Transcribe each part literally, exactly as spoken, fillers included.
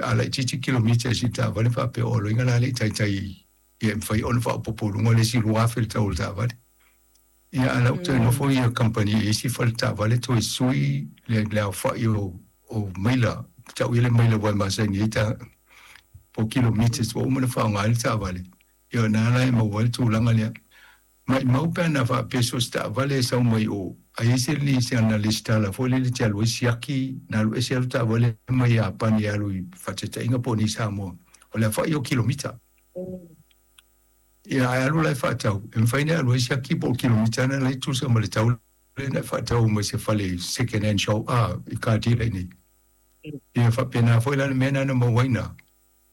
A laitiiti kilomita i si taavale faapea o loiga la le i taitai ia e mafai ona faaopoopo i luga le isi lua afe le tau o le taavale. Ia a o la ua toe nofo ia kamupani i isi fale taavale toe sui le le aofai o o maila, tau ia le maila ua e masani ai ta po o kilometers ua uma ona faaaoga ai le taavale. Ia o lena la e maua ai le tulaga lea. Maimau pe ana faapea so o se taavale e sau mai o, a i ai se nisi ana lesitala foi lele e te alu ai siaki, na alu ese lava le taavale mai Iapani e alu i faataitaiga po o ni Samoa, o le aofai o kilomita. Ia ae alu la e faatau, e mafai ona e alu ai siaki po o kilomita na la e tusa ma le tau lea na e faatau mai se fale second hand shop a i car dealer i nei. Ia faapena foi la le mea na na maua ai na.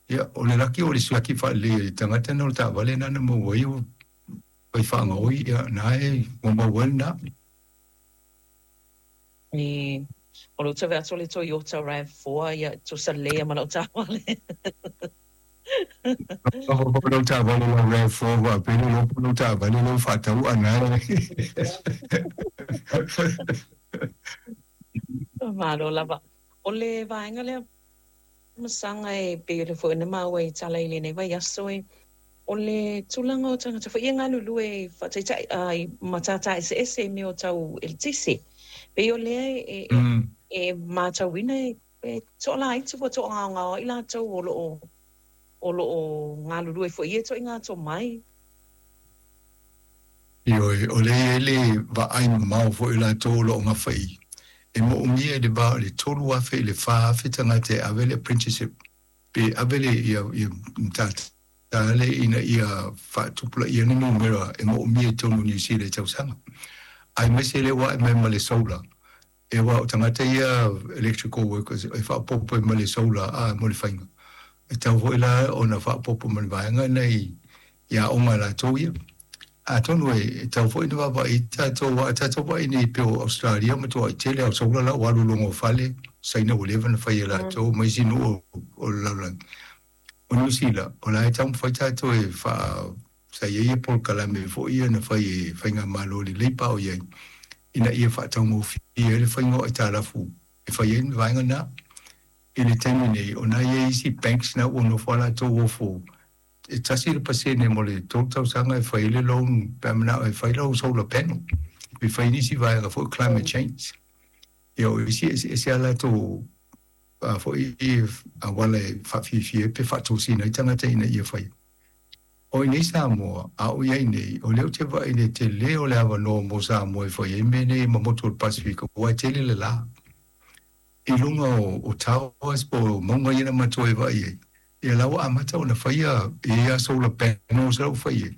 Ia o le laki o le siaki faalelei e le tagata na o le taavale na na maua ai ua fai faagaoi ia na e ua maua ai lena. E, o lou tau atu o le Toyota RAV four, ia, tusa lelei ma lau taavale. Lau taavale lau RAV four faapea le iloa po o lau taavale lea ua faatau ana. Malo lava. O le vaega lea masaga e pei o lea foi na maua i tala i lenei vaiaso e o le tulaga o tagata foi ia galulue i faataitai i matata eseese i mea o tau eletise. Pei o lea e e matauina e toalaiti ua toagaogao ai latou o lo o o lo o galulue foi i ia ituaiga tomai. Ioe, o lea e i ai le vaai mamao foi o latou o lo o gafa i e moomia i le va o le tolu afe i le fa afe tagata e ave le apprenticeship pe ave le ia ia matata lea ina ia faatupulaia ni numera e moomia i totonu o Niu Sila i tausaga. Aemaise lea ua ae mai ma le solar, e aua o tagata ia electrical workers e faaopoopo ai ma le solar a mo le faiga. E tatau foi la ona faaopoopo ma le vaega lena i i aoga a latou ia. Atonu e tatau foi ona vaavaai i tatou, aua a tatou vaai nei pei o Ausetalia ua matuai tele lava o solar la ua alu i luga o fale, Saina ua leva ona fai e latou ma isi nuu o le lalolagi. O Niu Sila, o la e taumafai tatou e faa sa i ai polokalame foi ia na fai e faigamalo le Labour o i ai ina ia faataugofie ai le faiga o aitalafu e fai ai le vaega lena. I le taimi nei, o na i ai isi banks na ua nofo lava latou ofo e tasi le pasene mo le tolu tausaga e fai ai le loan pe a manao e fai lau solar panel pe fai nisi vaega foi climate change. Ia o isi eseese a latou foi auala e faafiafia ai pe faatosina ai tagata ina ia faia. O i nei Samoa, a o i ai nei, o lea ou te vaai i le tele o le avanoa mo Samoa e fai ai mea nei ma motu o le Pasefika, aua e tele le la i luga o, o towers po o mauga ia na matou e vaai ai. Ia la ua amata ona faia e ia solar panels la ua fai ai.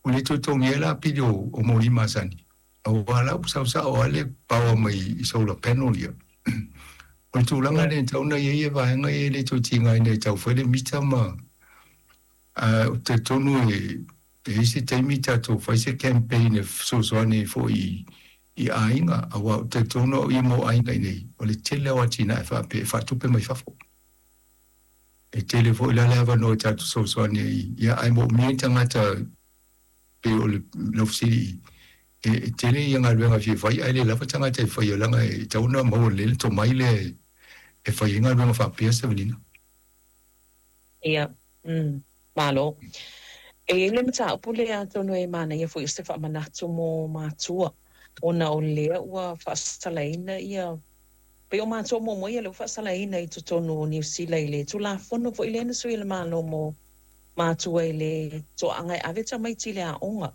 Ua le toe totogia ai la pili o, o moli masani, aua la ua saosao lava le power mai i solar panel ia. O le tulaga lea e tatau ona i ai vaega ia e le toe tigaina e tau fai le mita ma a ou te talitonu e e i ai se taimi tatou fai se campaign e fesoasoani ai foi i aiga, aua ou te talitonu au ia mo aiga i nei, o le tele o atinae faapea e faatupe mai fafo. E tele foi la le avanoa e tatou fesoasoani ai, ia ae moomia ni tagata pei o le lau fesili e, e tele ia galuega e fia fai ae le lava tagata e faia leaga e tatau ona maua lelei le tomai lea e fai ai galuega faapea Sevelina. Ia, mm, malo. E i ai le mataupu lea atonu e manaia foi o se faamanatu mo matua, ona o lea ua faasalaina ia, pei o matua muamua ia lea ua faasalaina i totonu o Niu Sila i le Tulafono foi lea na sui e le Malo mo matua i le toaaga e ave tamaiti i le aoga.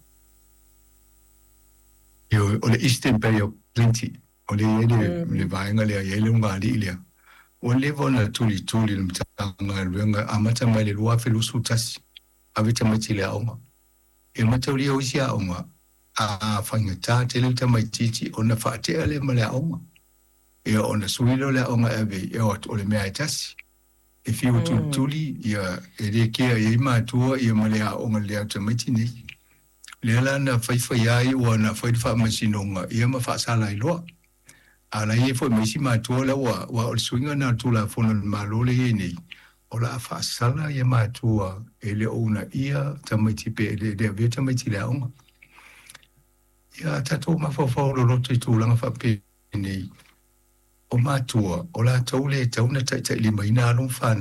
Ioe, o le Eastern Bay of Plenty, o lea e i ai le, le vaega lea e i ai le ulugalii lea. Ua leva ona tulituli le Matagaluega amata mai le lua afe luasefulu tasi, ave tamaiti i le aoga. E mataulia o isi aoga, a faigata tele le tamaitiiti ona faatea lea ma le aoga. Ia ona sui lea o le aoga e ave i o atu o le mea e tasi. E fiu e tulituli, ia e le kea i ai matua ia ma le aoga lelei o tamaiti nei. Lea la na faifai ai ua na fai le faamasinoga ia ma faasala ai loa. A la e i ai foi ma isi matua la ua, aua o le suiga lena o le Tulafono a le Malo lea e i ai nei, o le a faasala ia matua e le o uunaia tamaiti pe e le avea tamaiti i le aoga. Ia a tatou mafaufau loloto i tulaga faapenei, o matua, o latou le e tatau ona taitailimaina alo ma fanau.